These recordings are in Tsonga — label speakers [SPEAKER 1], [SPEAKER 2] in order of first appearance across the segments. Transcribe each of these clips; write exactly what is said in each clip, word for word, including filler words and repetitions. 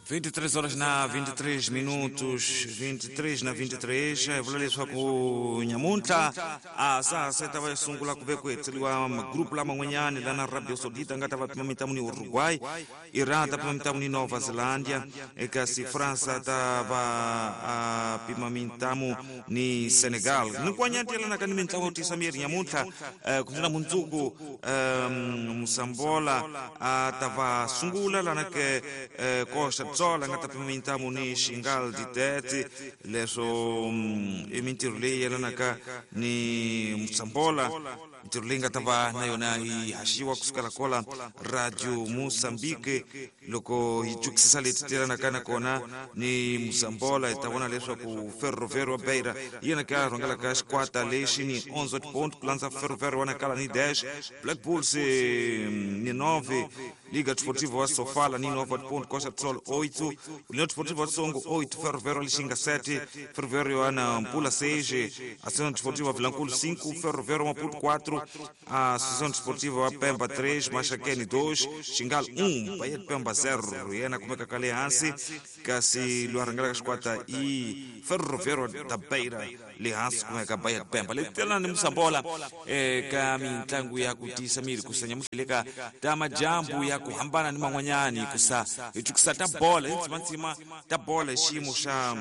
[SPEAKER 1] vinte e três horas na vinte e três minutos, vinte e três na vinte e três, vula leswaku nyamuntlha a sa ta va sungula ku ve ku hetseriwa magrupu laman'wanyani lana Arabia Saudita nga ta va pima mitlangu ni Uruguay, Iran ta pima mitlangu ni Nova Zelândia, kasi França ta va a pima mitlangu ni Senegal. Ni kwanyati yelanaka ni mitlangu yo tisa miri nyamuntlha ku na mundzuku Moçambola a ta va sungula lana ke Costa Tsola nga ta pima mitlangu ni Xingal Ditete, leswo i mintirho leyi yelanaka ni Moçambola, mintirho leyi nga ta va na yona yi haxiwa kusukela kola Radio Moçambique. Loko hi twisisa leti tirhanaka na kona ni Moçambola, hi ta vona leswaku Ferroviário wa Beira hi yena ka rhangelaka xikwata lexi ni onze ponto, ku landza Ferroviário wa Nacala ni dez, Black Bulls ni nove, Liga Desportiva wa Sofala ni nove ponto, Costa do Sol oito, União Desportiva wa Songo oito, Ferroviário Lixinga sete, Ferroviário wa Nampula seis, Associação Desportiva Vilanculo cinco, Ferroviário Maputo quatro, a Associação Desportiva wa Pemba três, Maxaquene dois, Xingal um, Bahia de Pemba zero. Yena kumeka kale hansi kasi lwarangela xikwata i Ferroviário da Beira le hansi kumeka Bahia de Pemba. Le tela ni Moçambola eka mitlangu ya ku tisa miri kusa nyamuhleleka ta majambu ya ku hambana ni man'wanyani kusa hi twisisa ta bola hi ntsima ta bola hi xiyimo xa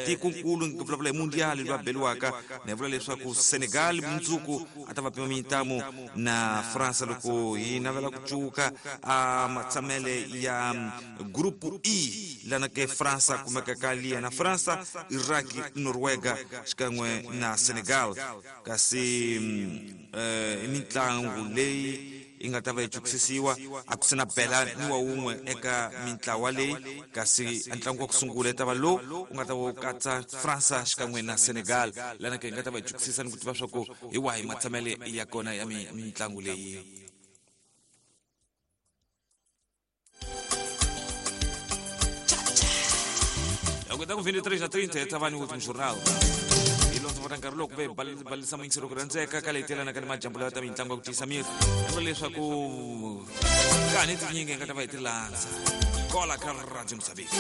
[SPEAKER 1] tikonkulu ni vulavula hi mundial loyi a beliwaka ni vula leswaku Senegal mundzuku a ta va pima mitlangu na França loko hi navela ku cuka a matshamele ya groupe E lana ke França kumeka ka liya na França, Iraq, Noruega xikan'we na Senegal. Kasi i mitlangu leyi yi nga ta va yi twisisiwa a ku sina bela ni wa wun'we eka mintlawa leyi, kasi ntlangu wa ku sungula ta va lowu u nga ta va wu katsa França xikan'we na Senegal lana ke hi nga ta va yi twisisa ni ku tiva swa ku hi wahi matshamele ya kona ya mitlangu leyi. Loko vinte e três na trinta ta va ni último jornal. Vota nkarhi loko ve balisa muyingiselo ku rhandzeka ka leyi telanaka ni majambu lawa ta mitlangu ya ku tiyisa miri vula leswaku kani tinyingi hi nga ta va hi ti landza kola ka Radio Moçambique.